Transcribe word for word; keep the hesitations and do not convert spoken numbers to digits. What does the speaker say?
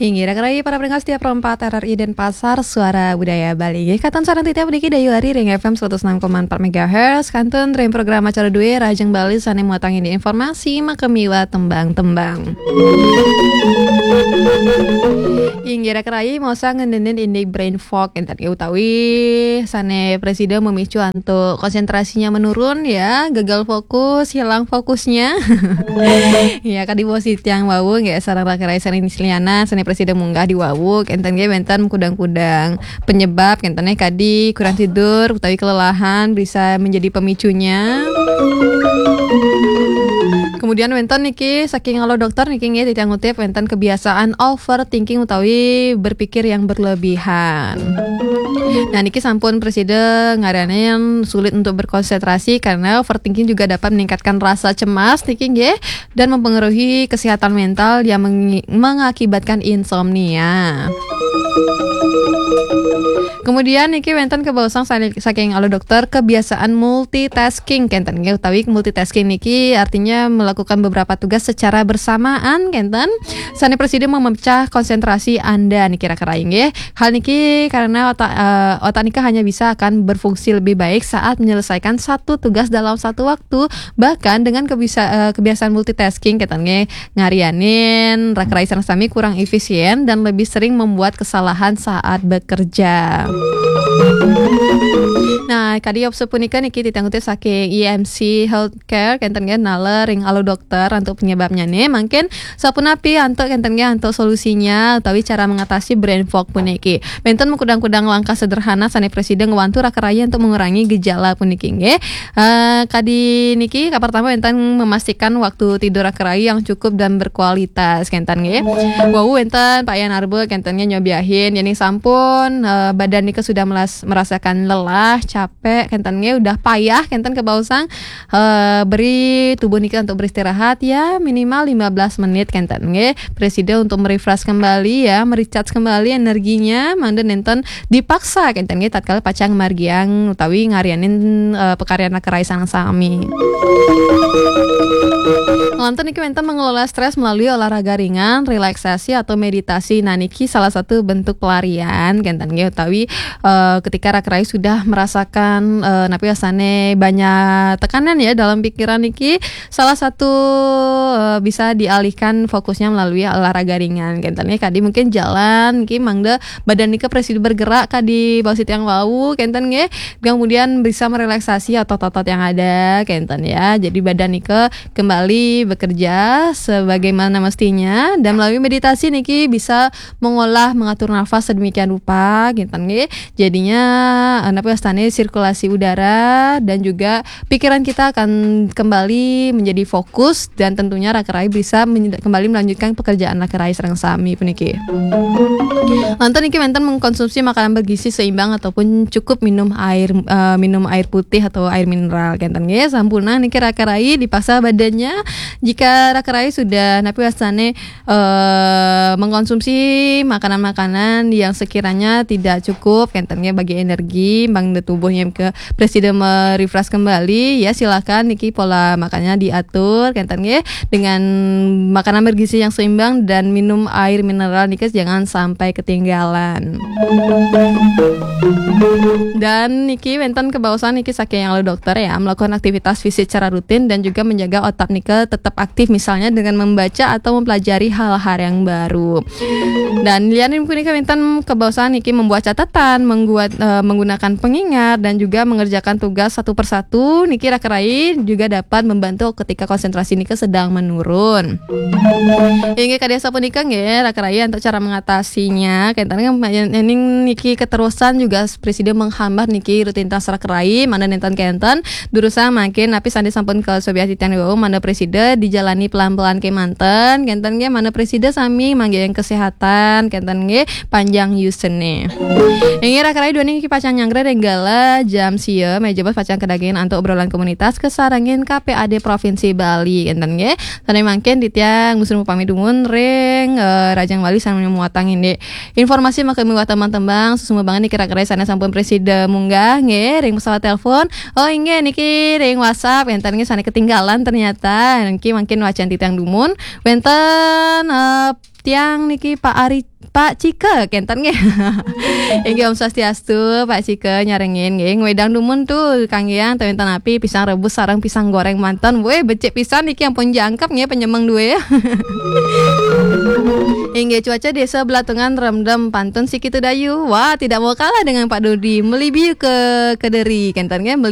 Inggih, rakan rayi para pendengar setia Pro empat R R I Denpasar, Suara Budaya Bali. Inggih, katon sareng titiang puniki Dayu Ari ring F M seratus enam koma empat megahertz, kantun ring program acara dué Rahajeng Bali sané muatang indik informasi makamiwah tembang-tembang. Inggih, rakan rayi, maosang ngeninin indik brain fog, enten utawi sané prasida memicu antuk konsentrasinya menurun, ya, gagal fokus, hilang fokusnya. Ya, kadi wau titiang wau nggih, sareng rakan rayi sané lianan, sané prasida munggah diwawu, enten nggih wénten kudang-kudang penyebab, enten nggih kadi kurang tidur utawi kelelahan bisa menjadi pemicunya. Kemudian wénten niki saking Halo Dokter niki nggih, titiang ngutip, wénten kebiasaan overthinking utawi berpikir yang berlebihan. Nah, niki sampun prasida ngaranin sulit untuk berkonsentrasi karena overthinking juga dapat meningkatkan rasa cemas niki nggih, dan mempengaruhi kesehatan mental yang mengi-, mengakibatkan insomnia. Kemudian niki wénten kabaosang sa-, saking Halo Dokter, kebiasaan multitasking kenten nggih, utawi multitasking niki artinya melakukan beberapa tugas secara bersamaan kenten. Sané prasida memecah konsentrasi Anda niki rakan rayi nggih. Hal niki karena otak, eh, otak nika hanya bisa akan berfungsi lebih baik saat menyelesaikan satu tugas dalam satu waktu. Bahkan dengan kebisa-, eh, kebiasaan multitasking kenten nggih, ngarianin rakan rayi sareng sami kurang efisien dan lebih sering membuat kesalahan saat bekerja. Nah, kadi sapunika niki titiang ngutip saking I M C Healthcare kenten nggih, naler ring Halo Dokter antuk penyebabnyané. Mangkin sapunapi antuk kenten nggih antuk solusinya utawi cara mengatasi brain fog puniki. Wénten makudang-kudang langkah sederhana sané prasida ngwantu rakan rayi antuk mengurangi gejala puniki nggih. Eh, kadi niki, kapertama wénten memastikan waktu tidur rakan rayi yang cukup dan berkualitas kenten nggih. Wau wénten payan arba kenten nggih nyobiahin, yéning sampun, eh, badan nika sudah melas-, merasakan lelah, capek kenten nggih, udah payah kenten kabaosang, eh, beri tubuh nika untuk beristirahat ya, minimal lima belas menit kenten nggih. Prasida untuk merefresh kembali ya, merecharge kembali energinya, mangda nénten dipaksa kenten nggih tatkala pacang margiang utawi ngarianin, eh, pakaryan rakan rayi sareng sami. Nglantur niki wénten mengelola stres melalui olahraga ringan, relaksasi atau meditasi. Nah, niki salah satu bentuk pelarian kenten nggih utawi, eh, ketika rakan rayi sudah merasakan, eh, napi wastané banyak tekanan ya dalam pikiran niki, salah satu, eh, bisa dialihkan fokusnya melalui olahraga ringan kenten nggih. Kadi mungkin jalan niki mangda badan nika prasida bergerak kadi baos titiang wau kenten nggih. Kemudian bisa merelaksasi otot-otot yang ada kenten ya. Jadi badan nika kembali bekerja sebagaimana mestinya dan melalui meditasi niki bisa mengolah, mengatur nafas sedemikian rupa kenten nggih. Jadinya, eh, napi wastané sirkulasi udara dan juga pikiran kita akan kembali menjadi fokus dan tentunya rakan rayi bisa menye-, kembali melanjutkan pekerjaan rakan rayi sareng sami puniki. Lantur niki wénten mengkonsumsi makanan bergizi seimbang ataupun cukup minum air, eh, minum air putih atau air mineral kenten nggih. Sampunang niki rakan rayi dipaksa badannya jika rakan rayi sudah napi wastané, eh, mengkonsumsi makanan-makanan yang sekiranya tidak cukup kenten nggih bagi energi, mangda tubuhnya ke prasida merefresh kembali, ya silakan niki pola makannya diatur kenten nggih dengan makanan bergizi yang seimbang dan minum air mineral niki jangan sampai ketinggalan. Dan niki wénten kabaosang niki saking Halo Dokter ya, melakukan aktivitas fisik secara rutin dan juga menjaga otak nika tetap aktif misalnya dengan membaca atau mempelajari hal-hal yang baru. Dan lianin punika wénten kabaosang niki membuat catatan, mengguat-, eh, menggunakan pengingat dan juga mengerjakan tugas satu persatu niki rakan rayi juga dapat membantu ketika konsentrasi nika sedang menurun. Inggih kadi sapunika nggih rakan rayi untuk cara mengatasinya. Kenten nggih, yén-, yéning niki keterusan juga prasida menghambat niki rutinitas rakan rayi, mangda nénten kenten durusang mangkin napi sané sampun kasobiahang titiang wau mangda prasida dijalani pelan-pelan kémanten, kenten nggih mangda prasida sami manggihin kesehatan, kenten nggih panjang yusné. Inggih rakan rayi duaning niki pacang nyanggra ring galah jam sia, meja bos pacang kadagingin antuk obrolan komunitas kasarengin K P A D Provinsi Bali, kenten nggih. Sané mangkin titiang nunas pamit dumun ring, eh, Rahajeng Bali sané muatang indik informasi makamiwah tembang-tembang, suksmabanget niki rakan rayi sané sampun prasida munggah nggih ring pesawat telepon. Oh inggih niki ring WhatsApp, enten nggih sané ketinggalan ternyata. Niki mangkin wacén titiang dumun. Wénten, eh, tiang niki Pak Ari, Pak Cika, kenten nggih. Inggih, Om Swastiastu, Pak Cika nyarengin nggih. Ngwedang dumun tu kanggeang tawinten api, pisang rebus sareng pisang goreng manten. Weh, becik pisan niki ampun jangkep nggih penyemeng due. Inggih, cuaca Desa Belatungan remdem pantun si Kitu Dayu. Wah, tidak mau kalah dengan Pak Dodi. Melibiu ke Kediri, kenten nggih.